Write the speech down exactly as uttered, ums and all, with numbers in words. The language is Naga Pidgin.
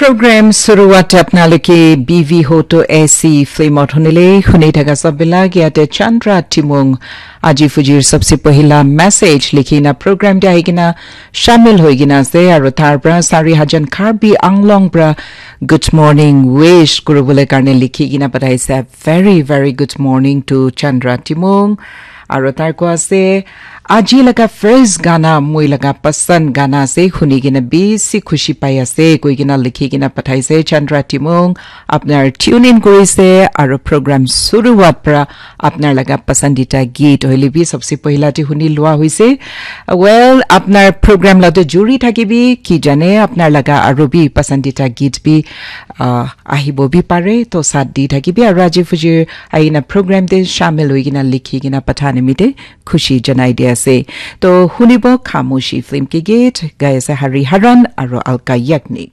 Program suruwat apnalike B V Hoto A C film ot hunile huni thaka sabila yate Chandra Timung aji fujir sabse pohila message likhi na program te ahi kena shamil hoi kena ase aru tar pra sari hajan Karbi Anglong pra good morning wish kuribole karne likhi kena pathaise. Very, very good morning to Chandra Timung. Aru tar koa ase, aji laga first gana, moi laga pasand gana ase, huni kena bisi khushi pai ase, koi kena likhi kena pathaise. Chandra Timung, apnar tune in korise, aru program suruwat pra apnar laga pasandita geet hoile bi sabse pohila te huni lua hoise. Well, apnar program la to juri thakibi, ki jane apnar laga aru bi pasandita geet bi, ah, ahibo bi pare, to sat di thakibi, aru aji fujir aina program te shamil hoi kena likhi kena patha nimite khushi janai di ase. To hunibo Khamoshi film ke geet, gai ase Hari Haran aru Alka Yagnik.